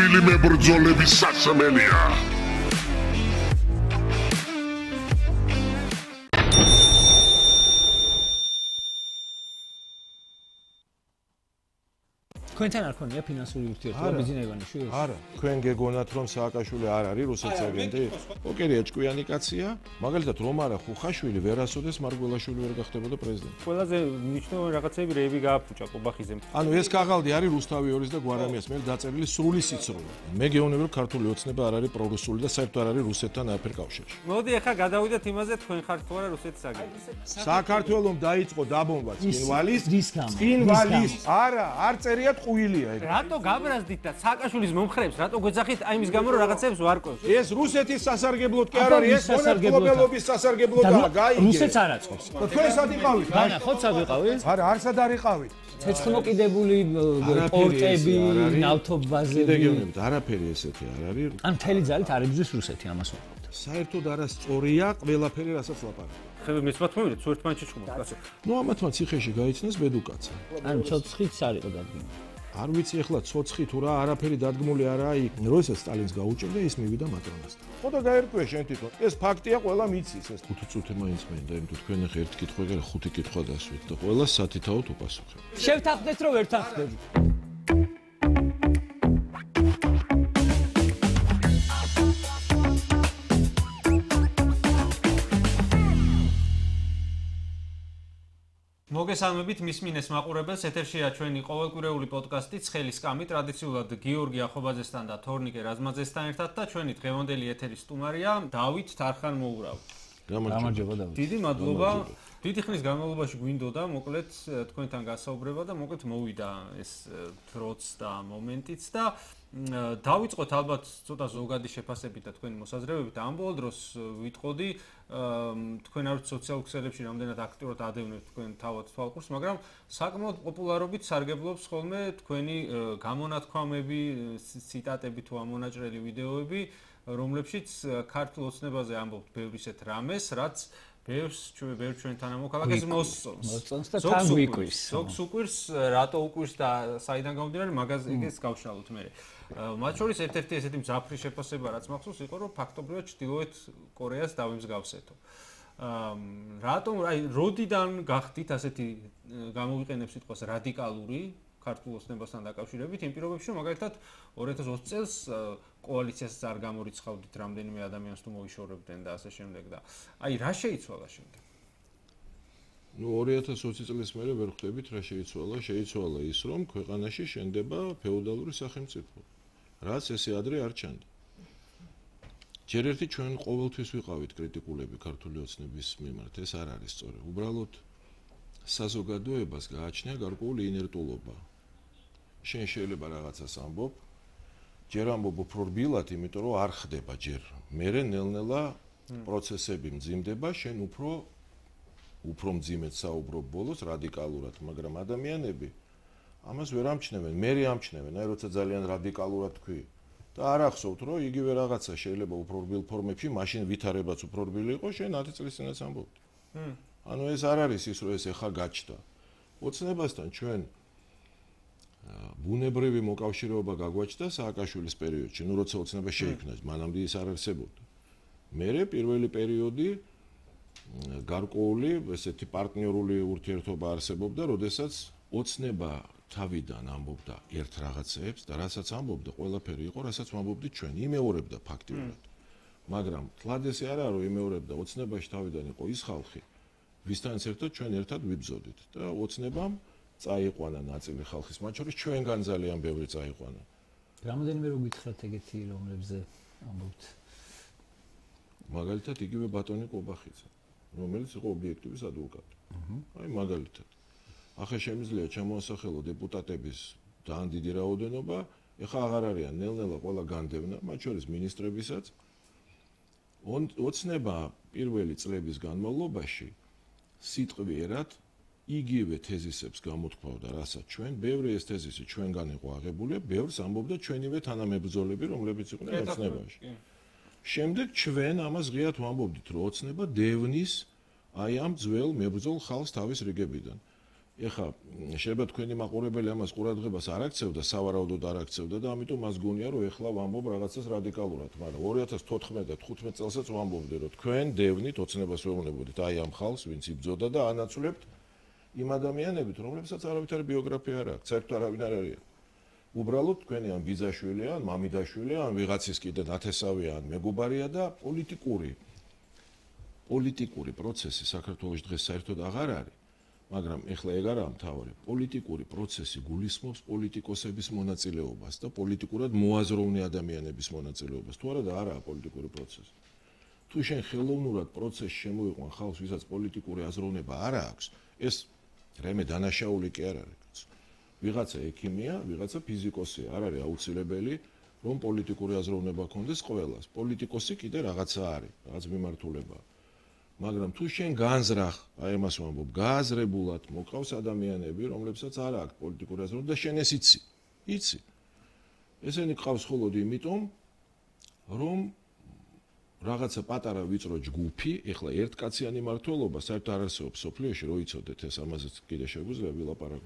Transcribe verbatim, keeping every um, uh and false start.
გმირული მებრძოლების სასმელია. თქვენთან არ ქონია ფინანსური ურთიერთობა ბიზნესმენში? არა, თქვენ გეგონათ რომ სააკაშვილი არ არის რუსეთის აგენტი? ოკეი, ჭკვიანი კაცია. მაგალითად რომ არა ხუხაშვილი ვერასოდეს მარგველაშვილი ვერ გახდებოდა პრეზიდენტი. ყველაზე მნიშვნელოვანი რაღაცები რეები გააფუჭა ყობახიძემ. ანუ ეს კაღალდი არის რუსთავი ორის და გვარამიას მიერ დაწერილი სრული სიცრუე. მე გეუბნები რომ ქართული ოცნება არ არის პრორუსული და საერთოდ არ არის რუსეთთან არაფერ კავშირში. მოდი ახლა გადავიდეთ იმაზე, თქვენ ხართ თუ არა რუსეთის აგენტი. საქართველოს დაიწყო დაბომბვა წინვალის, წინვალის. არა, არ წერიათ ყვილია ეგ. რატო გაბრაზდით და სააკაშვილის მომხრეებს რატო გვეძახით აი მის გამო რომ რაღაცებს ვარკვევს? ეს რუსეთის სასარგებლოდ კი არ არის, ეს მონოპოლობის სასარგებლოდაა, გაიგე. რუსეთს არ აწყობს. თქვენ სად იყავით? განა, ხო სად იყავით? არა, არსად არ იყავით. ცეცხლმოკიდებული პორტები, ნავთობაზე. კიდე გეუბნებით, არაფერი ესეთი არ არის. ან მთელი ძალით არ იბრძვის რუსეთი ამას ვუყავთ. საერთოდ არასწორია ყველაფერი, რასაც ლაპარაკობ. ხება მეცმათ მომიდეთ, თუ ერთმანეთში ჭუმოთ, კაცო. ნუ ამათმა ციხეში გაიცნეს ბედუკაცა. ანუ ცოცხლიც არ იყო დადგმული. არ ვიცი ახლა ცოცხი თუ რა, არაფერი დადგმული არაა იქ. როდესაც სტალინს გაუჭირდა, ის მივიდა მაკრონასთან. ხო და გაერკვია შენ თვითონ. ეს ფაქტია, ყველა მიცის ეს. ხუთი წუთი მაინც მინდა, იმიტომ თქვენ ახლა ერთი კითხვა გერა, ხუთი კითხვა დასვით და ყველა სათითაოდ უპასუხებ. შევთანხმდეთ, რომ ვერ თანხმდებით. მოგესალმებით მის მინეს მაყურებელს, ეთერშია ჩვენი ყოველკვირეული პოდკასტი ცხელი სკამი, ტრადიციულად გიორგი ახობაძესთან და თორნიკე რაზმაძესთან ერთად და ჩვენი დღევანდელი ეთერის სტუმარია დავით თარხან-მოურავი. გამარჯობა დავით. დიდი მადლობა. დიდი ხნის განმავლობაში გვინდოდა მოკლედ თქვენთან გასაუბრება და მოკლედ მოვიდა ეს დროც და მომენტიც და დავიწყოთ ალბათ ცოტა ზოგადი შეფასებით და თქვენი მოსაზრებებით. ამ ბოლო დროს ვიტყოდი თქვენ არ სოციალურ ქსელებში რამდენად აქტიურად ადევნებთ თქვენ თავად თვალყურს, მაგრამ საკმაოდ პოპულარობით სარგებლობს ხოლმე თქვენი გამონათქვამები, ციტატები თუ ამონაჭრელი ვიდეოები, რომლებშიც ქართულ ოცნებაზე ამბობთ ბევრ ისეთ რამეს, რაც ბევრს ჩვენ ბევრ ჩვენთან ამოქალაქეს მოსწონს. მოსწონს და თან გვიკვირს. ზოგს უკვირს, რატო უკვირს და საიდან გამომდინარე, მაგაზე ეგეს გავშალოთ მე. მათ შორის ერთ-ერთი ესეთი მძაფრი შეფასება რაც მახსოვს იყო, რომ ფაქტობრივად ჩრდილოეთ კორეას დავიმსგავსეთო. რატომ აი როდიდან გახდით ასეთი გამოვიყენებ სიტყვას რადიკალური ქართულ ოცნებასთან დაკავშირებით იმ პირობებში, რომ მაგალითად ორი ათას ოცი წელს კოალიციას არ გამორიცხავდით რამდენიმე ადამიანს თუ მოიშორებდნენ და ასე შემდეგ და აი რა შეიცვალა შემდეგ? ნუ ორი ათას ოცი წლის მერე ვერ ხვდებით რა შეიცვალა, შეიცვალა ის რომ ქვეყანაში შენდება ფეოდალური სახელმწიფო. რაც ესე ადრე არ ჩანდა. ჯერ ერთი ჩვენ ყოველთვის ვიყავით კრიტიკულები ქართული ოცნების მიმართ, ეს არ არის სწორი. უბრალოდ საზოგადოებას გააჩნია გარკვეული ინერტულობა. შენ შეიძლება რაღაცას ამბობ, ჯერ ამბობ უფრო რბილად, იმიტომ რომ არ ხდება ჯერ. მერე ნელ-ნელა პროცესები მძიმდება, შენ უფრო უფრო მძიმედ საუბრობ ბოლოს რადიკალურად, მაგრამ ადამიანები ამას ვერ ამჩნევენ, მერე ამჩნევენ, აი როცა ძალიან რადიკალურად თქვი. და არ ახსოვთ, რომ იგივე რაღაცა შეიძლება უფრო რბილ ფორმებში, მაშინ ვითარებაც უფრო რბილი იყო, შენ ათი წლის წინაც ამბობთ. ანუ ეს არ არის ის, რომ ეს ეხა გაჩნდა. ოცნებასთან ჩვენ ბუნებრივი მოკავშირეობა გაგვაჩნდა სააკაშვილის პერიოდში, ნუ როცა ოცნება შეიქმნა, მანამდე ის არ არსებობდა. მერე პირველი პერიოდი გარკვეული ესეთი პარტნიორული ურთიერთობა არსებობდა, როდესაც ოცნება თავიდან ამბობდა ერთ რაღაცებს და რასაც ამბობდა, ყველაფერი იყო, რასაც ამბობდით ჩვენ, იმეორებდა ფაქტიურად. მაგრამ თლად ესე არაა, რომ იმეორებდა, ოცნებაში თავიდან იყო ის ხალხი, ვისთანაც ერთად ჩვენ ერთად ვიბრძოდით და ოცნებამ წაიყვანა ნაწილი ხალხის, მათ შორის ჩვენგან ძალიან ბევრი წაიყვანა. რამდენიმე რო გითხრათ ეგეთი რომლებზე ამბობთ? მაგალითად იგივე ბატონი ყობახიძე, რომელიც იყო ობიექტივის ადვოკატი. აი მაგალითად. ახლა შემიძლია ჩამოასახელო დეპუტატების ძალიან დიდი რაოდენობა, ეხლა აღარ არიან ნელ-ნელა ყველა განდევნა, მათ შორის მინისტრებისაც. ოცნება პირველი წლების განმავლობაში სიტყვიერად იგივე თეზისებს გამოთქვავდა, რასაც ჩვენ, ბევრი ეს თეზისი ჩვენგან იყო აღებული, ბევრს ამბობდა ჩვენივე თანამებრძოლები, რომლებიც იყვნენ ოცნებაში. შემდეგ ჩვენ ამას ღიად ვამბობდით, რომ ოცნება დევნის აი ამ ძველ მებრძოლ ხალხს თავის რიგებიდან. ეხა შეიძლება თქვენი მაყურებელი ამას ყურადღებას არ აქცევდა, სავარაუდოდ არ აქცევდა და ამიტომ მას გონია რომ ეხლა ვამბობ რაღაცას რადიკალურად, მაგრამ ორი ათას თოთხმეტ და თხუთმეტ წელსაც ვამბობდი რომ თქვენ დევნით ოცნებას ვეუბნებოდით აი ამ ხალხს, ვინც იბრძოდა და ანაცვლებთ იმ ადამიანებით, რომლებსაც არავითარი ბიოგრაფია არ აქვს, საერთოდ არავინ არ არის. უბრალოდ თქვენი ან ბიძაშვილია, ან მამიდაშვილია, ან ვიღაცის კიდე ნათესავია, ან მეგობარია და პოლიტიკური პოლიტიკური პროცესი საქართველოს დღეს საერთოდ აღარ არის. მაგრამ ეხლა ეგ არაა მთავარი. პოლიტიკური პროცესი გულისხმობს პოლიტიკოსების მონაწილეობას და პოლიტიკურად მოაზროვნე ადამიანების მონაწილეობას. თუ არა და არაა პოლიტიკური პროცესი. თუ შენ ხელოვნურად პროცესში შემოიყვან ხალხს, ვისაც პოლიტიკური აზროვნება არ აქვს, ეს რამე დანაშაული კი არ არის. ვიღაცა ექიმია, ვიღაცა ფიზიკოსია, არ არის აუცილებელი, რომ პოლიტიკური აზროვნება ქონდეს ყველას. პოლიტიკოსი კიდე რაღაცა არის, რაღაც მიმართულებაა. მაგრამ თუ შენ განზრახ, აი ამას ვამბობ, გააზრებულად მოყავს ადამიანები, რომლებსაც არ აქვს პოლიტიკური აზროვნება და შენ ეს იცი. იცი. ესენი ყავს მხოლოდ იმიტომ, რომ რაღაცა პატარა ვიწრო ჯგუფი, ეხლა ერთკაციანი მმართველობა საერთოდ არ არსებობს სოფლიოში, რო იცოდეთ ეს, ამაზეც კიდე შეგვიძლია ვილაპარაკოთ.